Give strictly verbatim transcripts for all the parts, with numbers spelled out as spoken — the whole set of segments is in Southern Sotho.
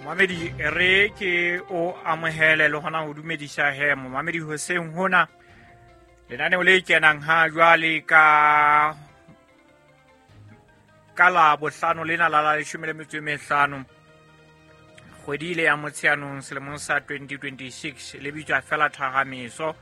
Momamedi re ke o amohele le hona ho dumedisa he momamedi hoseng hona lenaneo le kenang ha jwale ka ka la bohlano lena la la leshome le metso e mehlano kgwedi ile ya Motsheanong selemong sa twenty twenty-six le bitswa fela Thahamiso.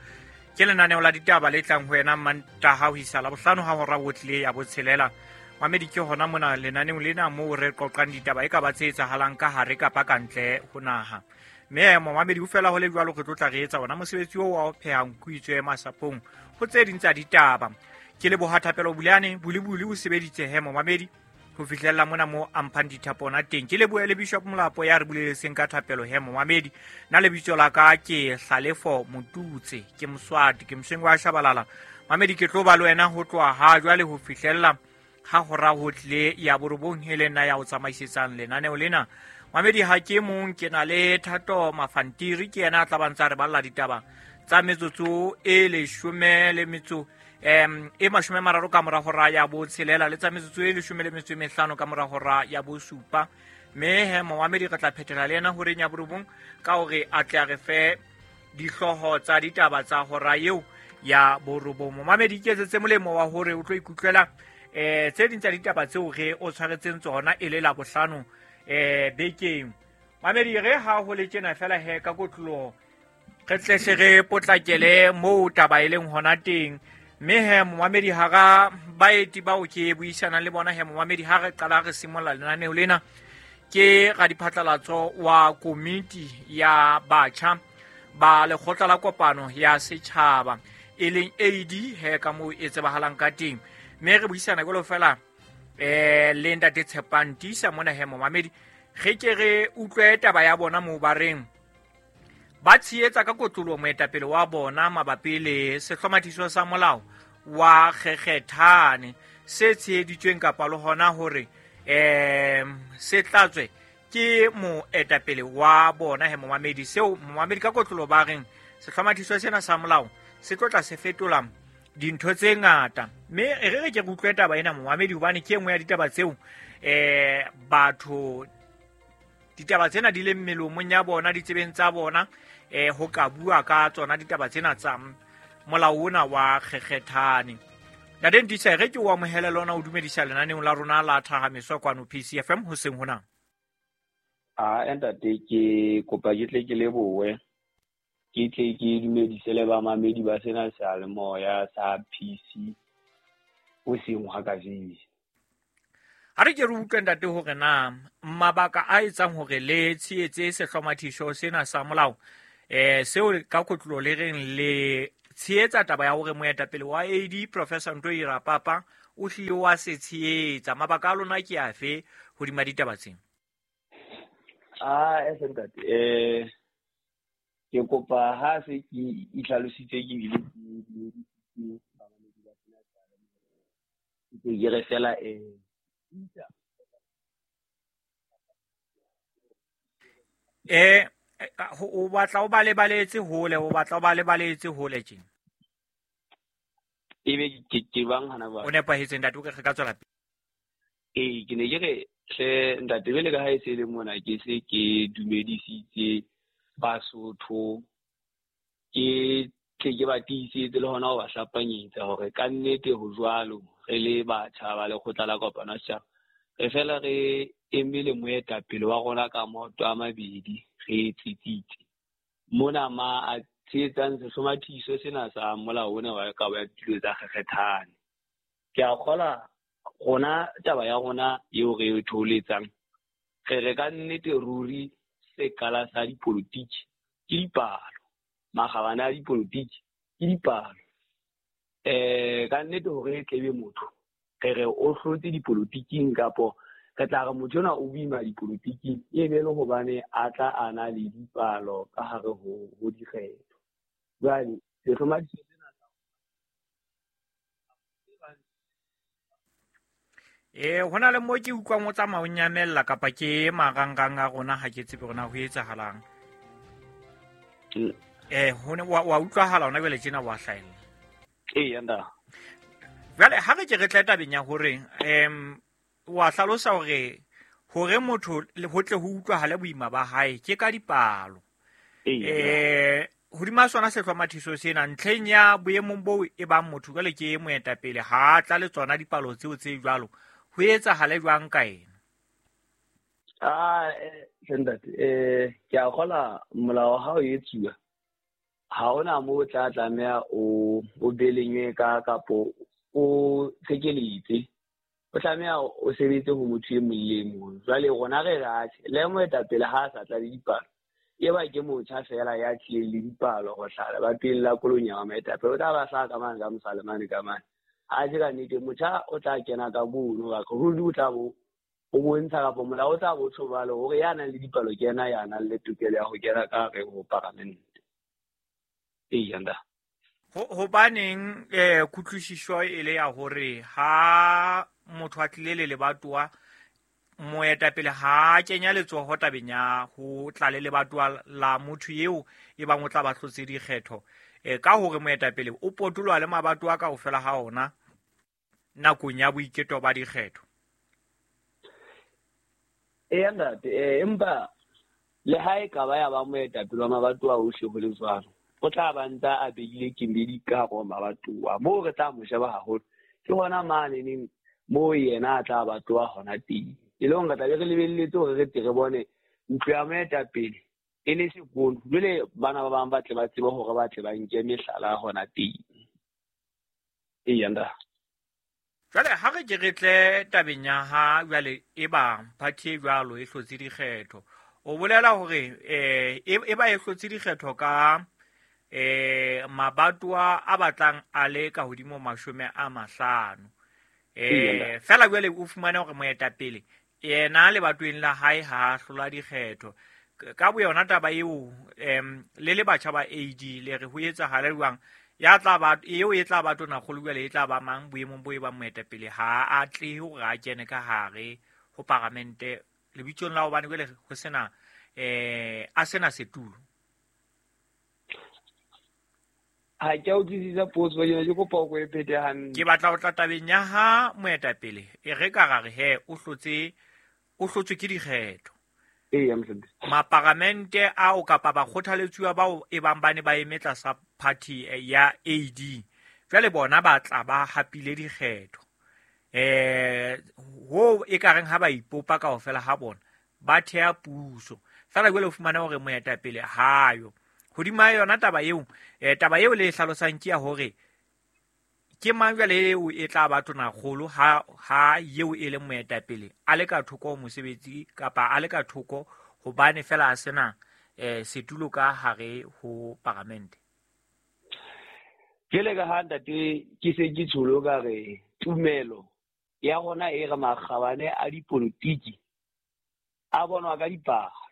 Ke lenaneo la ditaba le tlang ho wena Mantaha ho isa la bohlano ha hora ho tlile ya botshelela. Mamedi ke hona mona lenaneong lena moo re qoqang ditaba e ka ba tse etsahalang ka hare kapa ka ntle ho naha. Mme momamedi ho fela ho le jwalo re tlo tla re etsa ona mosebetsi oo wa ho pheha nku itswe masapong ho tse ding tsa ditaba. Ke leboha Thapelo Buleane Bulibuli o sebeditse he momamedi ho fihlella mona mo a mphang dithapo ona teng. Ke lebohe le Bishop Molapo ya re buleletseng ka thapelo he momamedi. Nna lebitso la ka ke Hlalefo Motutse, ke Moswati, ke Mosweng wa Shabalala. Mamedi ke tlo ba le wena ho tloha ha jwale ho fihlella ha hora ho tlile ya borobong e le nna ya o tsamaisetsang lenaneo lena. Mamedi ha ke mong, ke na le Thato Mafantiri, ke yena a tla ba ntsa re balla ditaba tsa metsotso e leshome le metso em e mashome a mararo ka mora hora ya botshelela le tsa metsotso e leshome le metso e mehlano ka mora hora ya bosupa. Mme he momamedi re tla phethela le yena horeng ya borobong ka hore a tle a re fe dihlooho tsa ditaba tsa hora eo ya borobong. Momamedi iketsetse molemo wa hore o tlo ikutlwela eh tse ding tsa ditaba tseo re o tshwaretseng tsona e le la bohlano eh bekeng. Mamedi re ha ho le tjena fela he ka kotloloho re tle hle re potlakele moo taba e leng hona teng. Mme he momamedi hara baeti bao ke buisanang le bona he momamedi ha re qala re simolla lenaneo lena ke radiphatlalatso wa komiti ya batjha ba lekgotla la kopano ya setjhaba e leng A D he ka moo e tsebahalang ka teng. Mme re buisana jwalo fela eh le ntate Tshepang Tisa mona he momamedi re ke re utlwe taba ya bona moo ba reng ba tshehetsa ka kotloloho moetapele wa bona mabapi le sehlomathiso sa molao wa kgekgethane se tsheheditsweng kapa le hona hore em se tlatswe ke moetapele wa bona he momamedi. Seo momamedi ka kotloloho ba reng sehlomathiso sena sa molao se tlo tla se fetola dintho tse ngata. Mme re re ke re utlwe taba ena momamedi hobane ke e nngwe ya ditaba tseo eh batho ditaba tsena di leng melomong ya bona ditsebeng tsa bona eh ho ka bua ka tsona ditaba tsena tsa molao ona wa kgekgethane. Ntate Ntisa re ke o amohele lona o dumedisa lenaneong la rona la Thahamiso kwano P C F M hoseng hona. A ntate ke kopa ke tle ke lebohe ke tle ke dumedise le bamamedi ba sena seyalemoya sa P C hoseng ha kajeno. Ha re ke re utlwe ntate hore na mabaka a etsang hore le tshehetse sehlomathiso sena sa molao eh seo ka kotlolo le reng le tshehetsa taba ya hore moetapele wa A D Professor Ntoi Rapapa o hlile wa se tshehetsa. Mabaka a lona ke afe hodima ditaba tsena? Ah eh ntate eh ke kopa ha se ke itlhalositse ke bile ke bamamedi ba sena seyalemoya ke re fela eh eh o batla o ba lebaletse hole o batla o ba lebaletse hole tjena ebe ke ke bang hana ba o nepahetse ntate o ke re ka tswela pele. Ee ke ne ke re hle ntate bele ka ha e se le mona ke se ke dumedisitse Basotho ke tle ke ba tiisetse le hona ho ba hlapanyetsa hore ka nnete ho jwalo re le batjha ba lekgotla la kopano ya setjhaba re fela re emele moetapele wa rona ka maoto a mabedi re tsitsitse mona ma a tshehetsang sehlomathiso sena sa molao ona wa kabo ya ditulo tsa kgekgethane. Ke a kgola rona taba ya rona eo re e thoholetsang re re ka nnete ruri sekala sa dipolotiki ke dipalo, makgabane a dipolotiki ke dipalo. Eh ka nnete hore e tlebe motho re re o hlotse dipolotiking kapo re tla re motho ona o boima dipolotiking e be le hobane a tla a na le dipalo ka hare ho ho dikgetho. Jwale sehlomathiso sena sa Eh hona le mo ke utlwang o tsamaya o nyamella kapa ke marangrang a rona ha ke tsebe hore na ho etsahalang. Eh hone wa wa utlwahala hona jwale tjena wa hlahella. Ee nda. Jwale ha re ke re tla tabeng ya hore em wa hlalosa hore Hore motho ho tle ho utlwahale boima ba hae ke ka dipalo. Eh hodima sona sehlomathiso sena ntlheng ya boemong bo e bang motho jwale ke moetapele ha tla le tsona dipalo tseo tse jwalo ho etsahale jwang ka ena? Ah ntate eh ke a kgola molao ha o etsuwa ha ona mo tla tlameha o o belengwe ka kapo o tshekeletse o tlameha o sebetse ho motho e mong le mong. Jwale rona re rathe le moetapele ha a sa tla le dipalo e ba ke motjha fela ya tlileng le dipalo go hlala ba pele la kolonya wa moetapele o tla ba hlaha ka mane ka mosalemane ka mane. Ha se ka nnete motjha o tla kena ka bono ka ruri o tla bo o bontsha kapa molao o tla bo tjho jwalo hore ya nang le dipalo ke yena ya nang le tokelo ya ho kena ka hare ho paramente. Eya nda. Hobaneng eh kutlwisiso e le ya hore ha motho a tlile le lebatowa moetapele ha kenya letsoho tabeng ya ho tla le lebatowa la motho eo e bang o tla ba hlotse dikgetho eh ka hore moetapele o potoloha le mabatowa kaofela ha ona nakong ya boiketo ba dikgetho. Eya ntate eh empa le ha e ka ba ya ba moetapele wa mabatowa ohle ho le jwalo o tla ba ntsa a behile kemedi ka hare ho mabatowa moo re tla mo sheba haholo ke hona mane neng moo yena a tla batowa hona teng. E le hore re tla be re lebelletse hore re tle re bone ntlo ya moetapele e le sekolo jwale bana ba bang ba tle ba tsebe hore ba tle ba nke mehlala hona teng. Eya nda. Jwale ha re ke re tle tabeng ya ha jwale e ba party e jwalo e hlotse dikgetho o bolela hore eh e ba e hlotse dikgetho ka eh mabatowa a batlang a le ka hodimo mashome a mahlano. Eh fela jwale o fumane hore moetapele yena lebatoweng la hae ha hlola dikgetho ka boyona taba eo em le le batjha ba A D le re ho etsahale jwang ya tla ba eo e tla ba tona kgolo jwale e tla ba mang boemong bo e ba moetapele ha a tle hore a kene ka hare ho paramente lebitsong la hobane jwale ho sena eh a sena setulo. Ha ke a utlwisisa potso ena, ke kopa o ko e phete hantle. Ke batla ho tla tabeng ya ha moetapele e re ka ra re he o hlotse o hlotswe ke dikgetho. Eya mohlomphehhi. Maparamente ao kapa bakgothaletsuwa bao e bang ba ne ba eme tlasa party ya A D jwale bona ba tla ba hapile dikgetho. Eh ho e ka reng ha ba ipopa kaofela ha bona ba thea puso. Fela jwale o fumana hore moetapele hayo. Hodima yona taba eo eh taba eo le hlalosang ke ya hore ke mang jwale eo e tla ba tona kgolo ha ha eo e le moetapele a le ka thoko mosebetsi kapa a le ka thoko hobane fela a sena eh setulo ka hare ho paramente. Jwale ka ha ntate ke se ke tsholo ka re tumelo ya rona e re makgabane a dipolotiki a bonwa ka dipalo.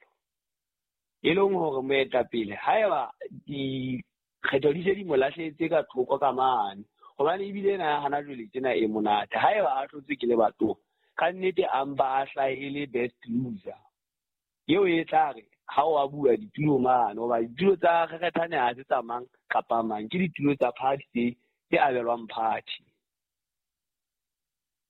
E leng hore moetapele haeba dikgetho di se di mo lahletse ka thoko ka mane hobane ebile ena ya hana jwale tsena e monate haeba a hlotswe ke lebatowa ka nnete a mpa a hlahe e le best loser eo e tla re ha o a bua ditulo mane hoba ditulo tsa kgekgethane ha se tsa mang kapa mang ke ditulo tsa party tse tse abelwang party.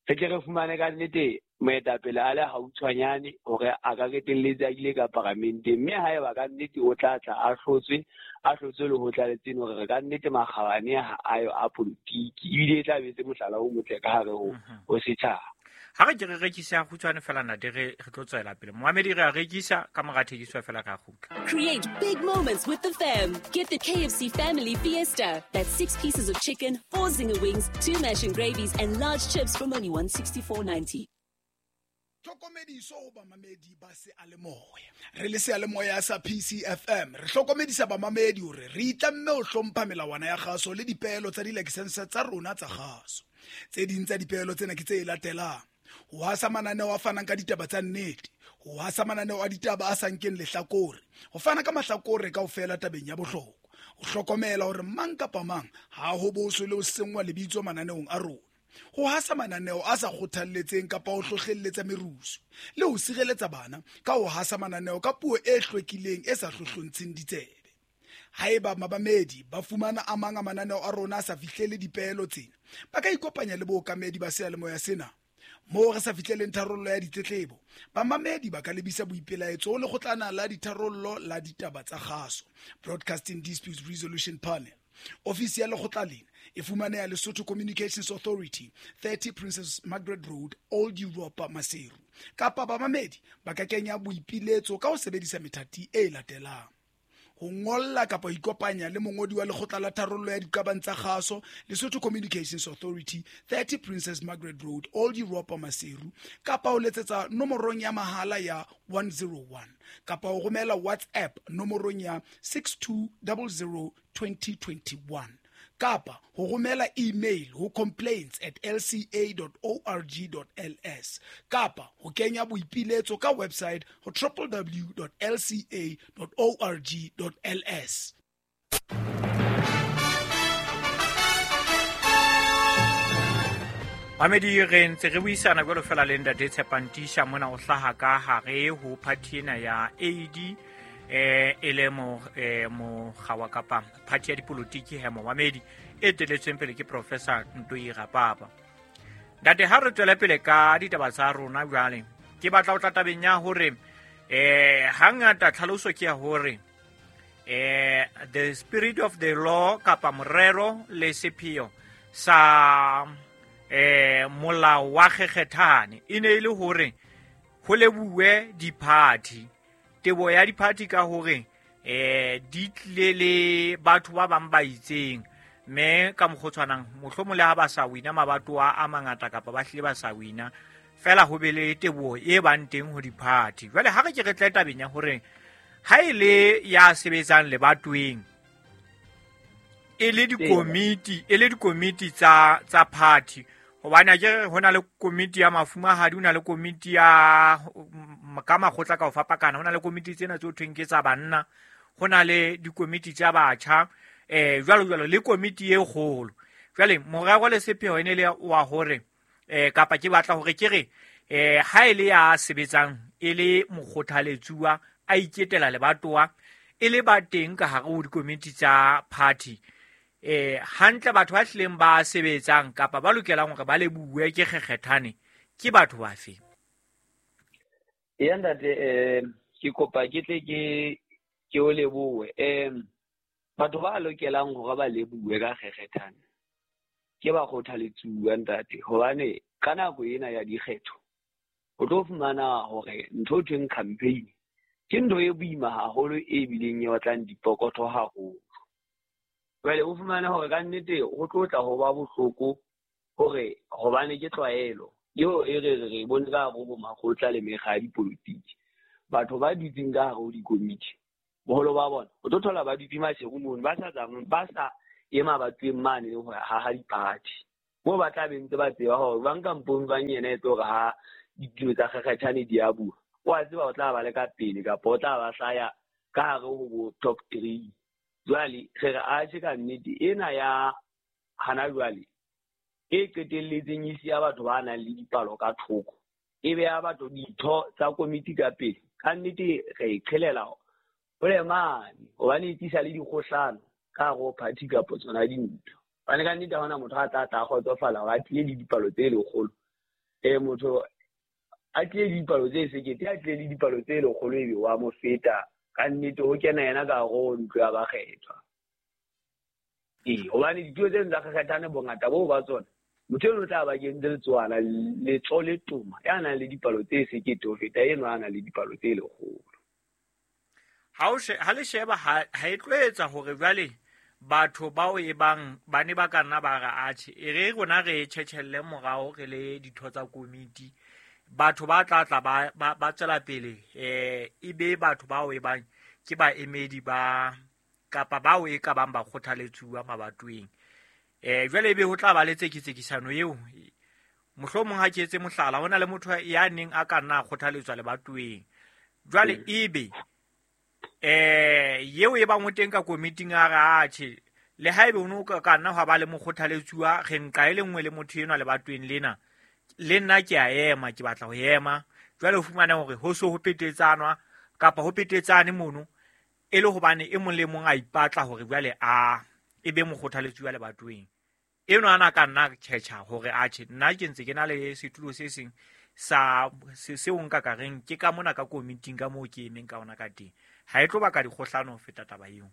Re tle re fumane ka nnete moetapele a le hautshwanyane hore a ka qetelletse a ile ka paramenteng mme haeba ka nnete o tla tla a hlotswe a hlotswe le ho tla le tseno hore ka nnete makgabane ha ayo a politiki ebile e tla be se mohlala o motle ka hare ho ho setjhaba. Ha re ke re rekisa kgutshwane fela ntate re re tlo tswela pele. Moamedi re a rekisa ka mora thekiso fela ka kgutla. Create big moments with the fam. Get the K F C Family Fiesta. That's six pieces of chicken, four zinger wings, two mash and gravies and large chips from only one sixty-four ninety. Tlhokomediso ho bamamedi ba seyalemoya. Re le seyalemoya sa P C F M re hlokomedisa bamamedi hore re itlamme ho hlompha melawana ya kgaso le dipeelo tsa dilakesense tsa rona tsa kgaso. Tse ding tsa dipeelo tsena ke tse latelang: ho hasa mananeo a fanang ka ditaba tsa nnete, ho hasa mananeo a ditaba a sa nkeng lehlakore, ho fana ka mahlakore kaofela tabeng ya bohlokwa, ho hlokomela hore mang kapa mang ha ho boswe le ho senngwa lebitso mananeong a rona, ho hasa mananeo a sa kgothalletseng kapa ho hlohlelletsa merusu, le ho sireletsa bana ka ho hasa mananeo ka puo e hlwekileng e sa hlohlontsheng ditsebe. Haeba mabamedi ba fumana a mang a mananeo a rona a sa fihlele dipeelo tsena, ba ka ikopanya le bookamedi ba seyalemoya sena. Moo re sa fihleleng tharollo ya ditletlebo, bamamedi ba ka lebisa boipelaetso ho lekgotlana la ditharollo la ditaba tsa kgaso, Broadcasting Disputes Resolution Panel. Ofisi ya lekgotla lena e fumaneha Lesotho Communications Authority, thirty Princess Margaret Road, Old Europa, Maseru. Kapa bamamedi ba ka kenya boipiletso ka ho sebedisa methati e latelang: ho ngolla kapa ho ikopanya le mongodi wa lekgotla la tharollo ya diqabang tsa kgaso, Lesotho Communications Authority, thirty Princess Margaret Road, Old Europa, Maseru, kapa ho letsetsa nomorong ya mahala ya one zero one, kapa ho romela WhatsApp nomorong ya six two zero zero twenty twenty-one, kapa ho romela email ho complaints at l c a dot org dot l s, kapa ho kenya boipiletso ka website ho w w w dot l c a dot org dot l s. Mamedi, re ntse re buisana jwalo fela le ntate Tshepang Tiisa mona o hlaha ka hare ho party ena ya A D, eh e le mo eh mokga wa kapa party ya dipolotiki he momamedi e teletsweng pele ke Professor Ntoi Rapapa. Ntate, ha re tswele pele ka ditaba tsa rona jwale, ke batla ho tla tabeng ya hore eh hangata tlhaloso ke ya hore eh the spirit of the law kapa morero le sepheo sa eh molao wa kgekgethane e ne e le hore ho lebuwe diphathi, tebo ya diphathi ka hore eh di tlile le batho ba bang ba itseng, mme ka mokgwa o tshwanang mohlomong le ha ba sa wina mabatowa a mangata kapa ba hlile ba sa wina fela, ho be le teboho e bang teng ho diphathi. Jwale ha re ke re tle tabeng ya hore ha e le ya sebetsang lebatoweng e le dikomiti, e le dikomiti tsa tsa party, hobane a ke ho na le komiti ya mafumahadi, ho na le komiti ya ka makgotla ka ho fapakana, ho na le komiti tsena tse ho thweng ke tsa banna, ho na le dikomiti tsa batjha, eh jwalo jwalo, le komiti e kgolo. Jwale morero le sepheo e ne le wa hore eh kapa ke batla hore ke re eh ha e le ya sebetsang e le mokgothaletsuwa a iketela lebatowa e le ba teng ka hare ho dikomiti tsa party, eh hantle batho ba hlileng ba sebetsang kapa ba lokelang hore ba lebuwe ke kgekgethane ke batho bafe? Ya ntate, eh ke kopa ke tle ke ke o lebohe. Eh batho ba lokelang hore ba lebuwe ka kgekgethane ke ba kgothaletsuwa ntate, hobane ka nako ena ya dikgetho o tlo fumana hore ntho e thweng campaign ke ntho e boima haholo e bileng e batlang dipokotho haholo. Jwale o fumane hore ka nnete ho tlo tla ho ba bohloko hore hobane ke tlwaelo eo e re re re bone ka hare ho makgotla le mekga ya dipolotiki, batho ba dutseng ka hare ho dikomiti boholo ba bona o tlo thola ba dutse Maseru mono, ba sa tsameng, ba sa ema batweng mane le ho haha diphathi moo ba tla be ntse ba tseba hore ba nka mpong bang yena e tlo re ha ditilo tsa kgekgethane di a bua, o a tseba o tla ba le ka pele kapa o tla ba hlaya ka hare ho bo top three. Jwale re re atjhe ka nnete ena ya hana jwale e qetelletseng e siya batho ba nang le dipalo ka thoko, e beha batho ditho tsa komiti ka pele, ka nnete re e qhelela hole mane, hobane e tlisa le dikgohlano ka hare ho party kapa tsona dintho. Hobane ka nnete ha hona motho a tla tla kgotsofala hore a tlile le dipalo tse lekgolo, eh motho a tlile le dipalo tse sekete, a tlile le dipalo tse lekgolo ebe wa mo feta. Ka nnete ho kena yena ka hare ho ntlo ya bakgethwa. Ee, hobane ditulo tseno tsa kgekgethane bongata boo ba tsona, motho eno o tla ba kentse letsoana letso le toma ya nang le dipalo tse sekete ho feta eno a nang le dipalo tse lekgolo. Ha o she, ha le sheba ha ha e tlo etsa hore jwale batho bao e bang ba ne ba ka nna ba re atjhe e re rona re tjhetjhelle morao re le ditho tsa komiti, batho ba tla tla ba ba tswela pele eh e be batho bao e bang ke baemedi ba kapa bao e ka bang ba kgothaletsuwa mabatoweng, eh jwale ebe ho tla ba le tsekitsekisano eo. Mohlomong ha ke etse mohlala, hona le motho ya neng a ka nna a kgothaletswa lebatoweng, jwale ebe eh yeo e bang o teng ka komiting a re atjhe le haebe o no ka nna hwa ba le mokgothaletsuwa re nka e le nngwe le motho enwa lebatoweng lena, le nna ke a ema, ke batla ho ema. Jwale o fumane hore ho so ho petetsanwa kapa ho petetsane mono e le hobane e mong le mong a ipatla hore jwale a e be mokgothaletsuwa lebatoweng. Eno ana ka nna tjhetjha hore atjhe nna ke ntse ke na le setulo se seng sa seo nka ka reng ke ka mona ka committee ka moo ke emeng ka ona ka teng. Ha e tlo baka dikgohlano ho feta taba eo.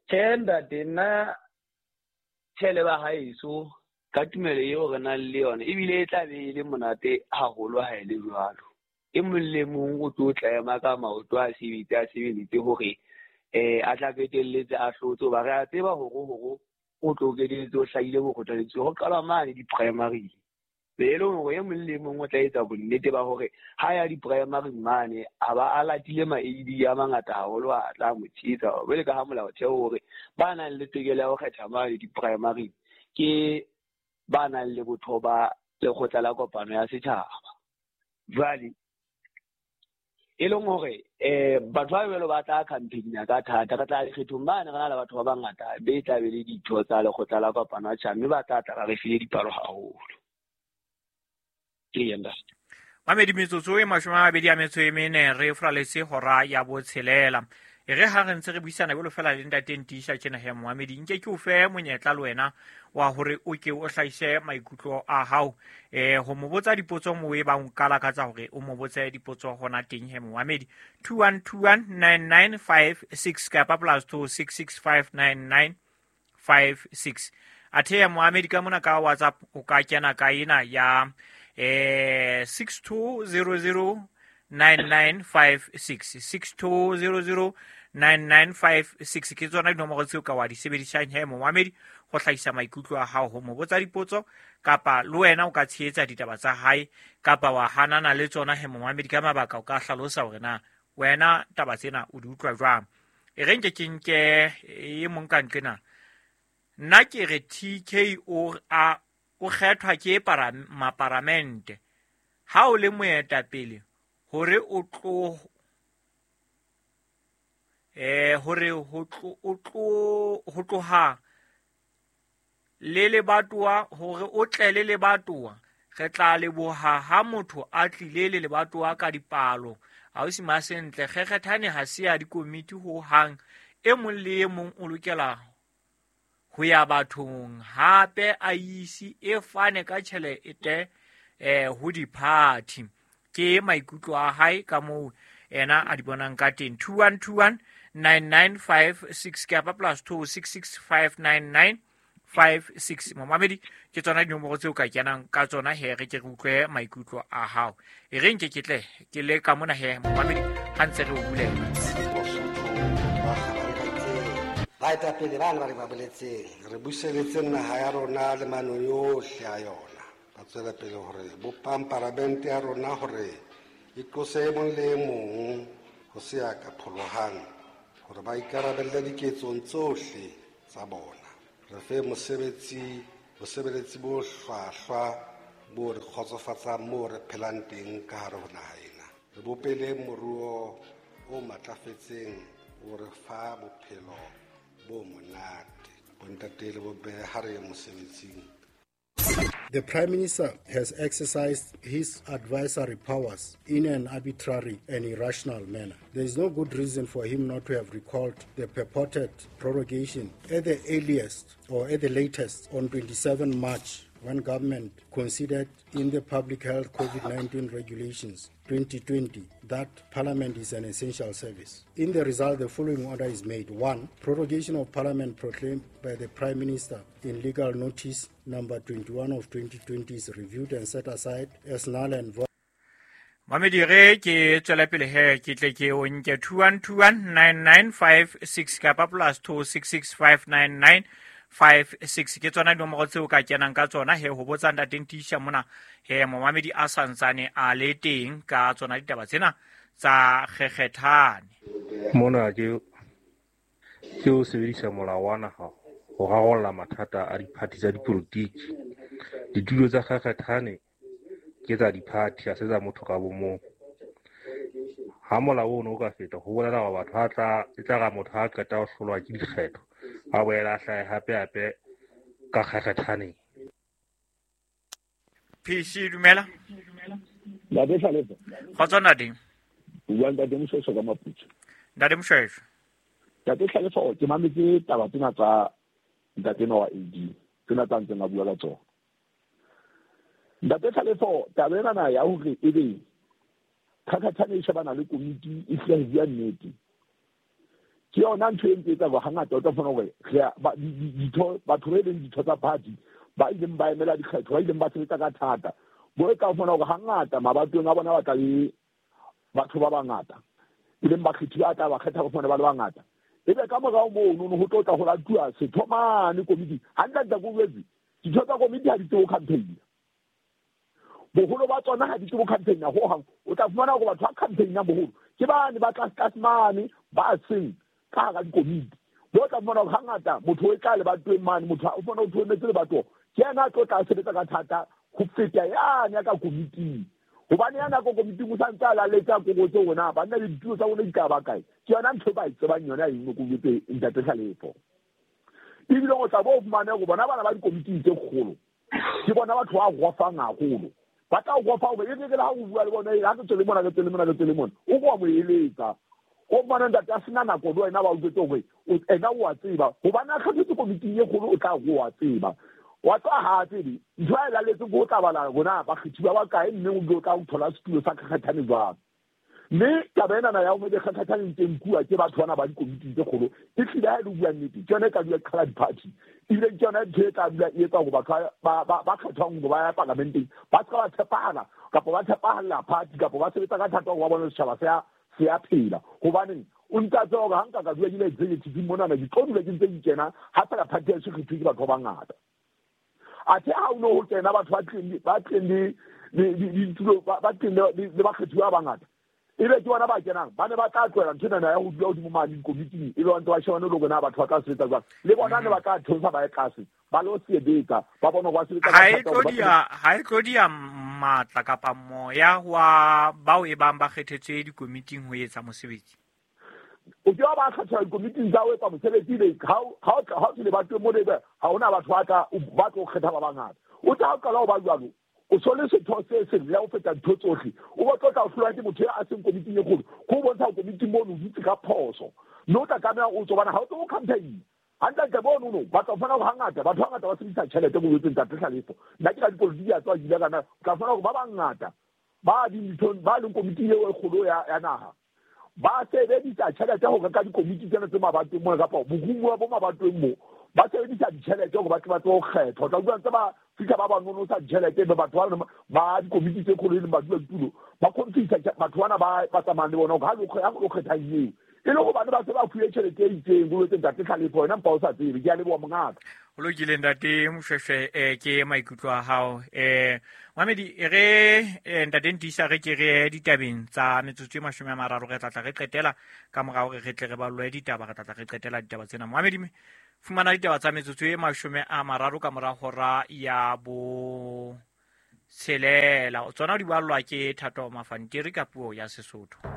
Tjhe ntate, nna tjhe le ba haeso ka tumelo eo re nang le yona ebile e tla be e le monate haholo ha e le jwalo. E mong le mong o tlo tla ka maoto a sebetse a sebeletse hore eh a tla qetelletse a hlotse hoba re a tseba hore hore o tlo qetelletse o hlahile bokgothaletswe ho qalwa mane di-primary. Be e leng hore e mong le mong o tla etsa bonnete ba hore ha ya di-primary mane a ba a latile ma-A D a mangata haholo a tla mo tshehetsa. Jwale ka ha molaotheo hore ba nang le tokelo ya ho kgetha mane di-primary ke ba nang le botho ba lekgotla la kopano ya setjhaba. Jwale e leng hore eh batho ba jwalo ba tla campaign ka thata, re tla dikgethong bane re na le batho ba bangata be tla be le ditho tsa lekgotla la kopano ya setjhaba mme ba tla tla ba re file dipalo haholo. Ke yena. Mamedi metsotso e mashome a mabedi a metso e mene re fraletse hora ya botshelela. E re ha re ntse re buisana jwalo fela le ntate Ntiisa tjena he Mohamedi, nke ke o fe monyetla le wena wa hore o ke o hlahise maikutlo a hao eh ho mo botsa dipotso moo e bang o ka lakatsa hore o mo botse dipotso hona teng he Mohamedi. two one two one nine nine five six kapa plus two six six five nine nine five six. Athe ya Mohamedi ka mona ka WhatsApp o ka kena ka ena ya eh six two zero zero nine nine five six six two zero zero nine nine five six ke tsona dinomoro tseo ka wa di sebedisang he Mohamedi go hlahisa maikutlo a hao ho mo botsa dipotso kapa le wena o ka tshehetsa ditaba tsa hae kapa wa hanana le tsona he Mohamedi ka mabaka o ka hlalosa hore na wena taba tsena o di utlwa jwang. E re nke ke nke e mong ka nqena nna ke re T K o a o kgethwa ke para maparamente ha o le moetapele hore o tlo eh hore ho tlo o tlo ho tloha le lebatowa hore o tle le lebatowa re tla leboha ha motho a tlile le lebatowa ka dipalo ausi Masentle kgekgethane ha se ya dikomiti ho hang e mong le e mong o lokela ho ya bathong hape a isi e fane ka tjhelete eh ho di-party. Ke maikutlo a hae ka moo ena a di bonang ka teng. two one two one nine nine five six kapa plus two six six five nine nine five six. Momamedi ke tsona dinomoro tseo ka kenang ka tsona he re ke re utlwe maikutlo a hao. E re nke ke tle ke le ka mona he momamedi ha ntse re o bulela. Baetapele bana ba re ba boletseng re buseletse naha ya rona le mano yohle a yona. Ba tswela pele hore bopang paramente ya rona hore e tlose e mong le e mong ho se ya ka pholohang hore ba ikarabelle diketsong tsohle tsa bona. Re fe mosebetsi bosebeletsi bo hlwahlwa bo re kgotsofatsang moo re phelang teng ka hare ho naha ena. Re bopele moruo o matlafetseng o re fa bophelo bo monate. Bontate le bomme ha re ye mosebetsing. The Prime Minister has exercised his advisory powers in an arbitrary and irrational manner. There is no good reason for him not to have recalled the purported prorogation at the earliest or at the latest on twenty-seventh March, when government considered in the Public Health COVID nineteen Regulations twenty twenty that Parliament is an essential service. In the result, the following order is made. One, prorogation of Parliament proclaimed by the Prime Minister in legal notice number twenty-one of twenty twenty is reviewed and set aside as null and void. Mamedi re ke tswela pele he ke tle ke o nke two one two one nine nine five six kapa plus two six six five nine nine five six ke tsona dinomoro tseo ka kenang ka tsona he ho botsa ntate Ntiisa mona he momamedi a santsane a le teng ka tsona ditaba tsena tsa kgekgethane. Mona ke ke o sebedisa molao wa naha ho rarolla mathata a diphathi tsa dipolotiki. Ditulo tsa kgekgethane ke tsa diphathi, ha se tsa motho ka bomong. Ha molao ono o ka feta ho bolela hore batho ha tla e tla ra motho ha qeta ho hlolwa ke dikgetho a boela a hlahe hape hape ka kgekgethaneng. P C dumela. Ntate Hlalefa. Kgotso ntate. O bua ntate Moshweshwe ka Maputswe. Ntate Moshweshwe. Ntate Hlalefa, ke mametse taba tsena tsa ntate ena wa A D. Tsena tsa ntseng a bua ka tsona. Ntate Tlhalefo, taba ena ya hore ebe Kgakgathane e shebana le komiti e hlile ho bua nnete. Ke yona ntho e ntse etsa hore hangata o tla fumana hore ditho batho ba leng ditho tsa party ba ileng ba emela dikgetho, ba ileng ba sebetsa ka thata. Bo e ka fumana hore hangata mabatong a bona ba tla le batho ba bangata. E leng bakgethi ba tla ba kgetha ba fumana ba le bangata. Ebe ka morao mono ho tlo tla ho latuwa setho mane komiti. Hantle ko boletse, ditho tsa komiti ha di tsebe ho campaign. Boholo ba tsona ha di tsebe ho campaign ho hang. O tla fumana hore batho ba campaign-ang boholo ke bane ba tlase tlase mane ba seng ka hara dikomiti. Bo tla fumana hore hangata motho o tla lebatoweng mane, motho o fumana o thoemetse lebatowa, ke yena a tlo tla sebetsa ka thata ho feta yane ya ka komiting. Hobane yana ka komiting o sa ntse a laletsa kokotse hore na banna le ditulo tsa bona di tla ba kae. Ke yona ntho e ba e tsebang yona eno ko jwetse ntate Tlhalefo. Ebile o tla bo fumane hore bona bana ba dikomiting tse kgolo ke bona batho ba gofang haholo. Ba tla o gofa hore e re ha o bua le bona, ha ke tswele mona, ke tswele mona, ke tswele mona, o ko mo eletsa. O bona ntate a sena nako le wena ba o jwetse hore ena o a tseba hobane a kgethetswe komiting e kgolo, o tla go a tseba. Wa tswa ha tsebe ntho a e laletseng ko o tla bala rona bakgethi ba bakae, mme o tla o thola setulo sa Kgakgathane jwang. Mme taba enana ya hore Kgakgathane ntse nkuwa ke batho bana ba dikomiting tse kgolo e hlile ha e le bua nnete, ke yona e ka dula qhala di-party. Ebile ke yona ntho e tla dula e etsa hore batho ba ba kgethwang hore ba ya parlamenteng ba se ka ba tshepahala kapa ba tshepahalla party kapa ba sebetsa ka thata hore ba bone setjhaba se a se a phela. Hobaneng o ntse a tseba hore ha nka ka dula ke le executive monana, ke tlo dula ke ntse ke kena ha fela party ya kgethuwe ke batho ba bangata. Athe ha o no ho kena batho ba tleng ba tleng le ditulo ba tleng le bakgethi ba bangata, ebe ke bona ba kenang ba ne ba tla tlohela ntho ena ya ho dula hodimo mane dikomiting, ebe ba ntse ba shebane le hore na batho ba tla sebetsa jwang. Le bona ne ba tla theosa ba ye tlase ba lo sebetsa, ba bone hore ba sebetsa ka Ha e thata tlo hore ba dia ha e tlo dia matla kapa moya wa bao e bang ba kgethetswe dikomiting ho etsa mosebetsi. O ke wa ba kgetha dikomiting tsa ho etsa mosebetsi le ha ha ha o lebatoweng mo lebe ha hona batho ba tla ba tlo kgetha ba bangata. O tla qala ho ba jwalo, o so le setho se seng le ho feta ntho tsohle, o bo tlo tla o hlolwa ke motho a seng komiting e kgolo, ko bontsha komiting mono o dutse ka phoso. Mme o tla tlameha o tswa bana ha o tswe ho campaign. Hantle mono no ba tla fumana hore hangata batho ba bangata ba sebedisa tjhelete mo jwetseng ntate Tlhalefo. Nna ke ka dipolotiki ya tswa ke kana o tla fumana hore ba bangata ba dinthong ba leng komiting eo e kgolo ya ya naha ba sebedisa tjhelete ho reka dikomiti tsena tse mabatoweng mona kapa borumuwa bo mabatoweng mo, ba sebedisa ditjhelete hore ba tle ba tsebe ho kgethwa. O tla utlwa ntse ba fihla ba ba nonosa ditjhelete, ebe batho ba ba dikomiti tse kgolo e leng badula ditulo ba confisa batho bana ba ba tsamayang le bona hore ha lo kgethang eo e le hobane ba se ba fuwe tjhelete e itseng. Ho jwetse ntate Tlhalefo, wena mpa o sa tsebe. Ke a leboha mongaka. Ho lokile ntate Moshweshwe, eh ke maikutlo a hao. Eh Mamedi, re ntate Ntisa re ke re ditabeng tsa metsotso e mashome a mararo, re tla tla re qetela ka mora hore re tle re ballwe ditaba, re tla tla re qetela ditaba tsena. Mamedi, fumana ditaba tsa metsotso e mashome a mararo ka mora hora ya bo tshelela. Tsona di ballwa ke Thato Mafantiri ka puo ya Sesotho.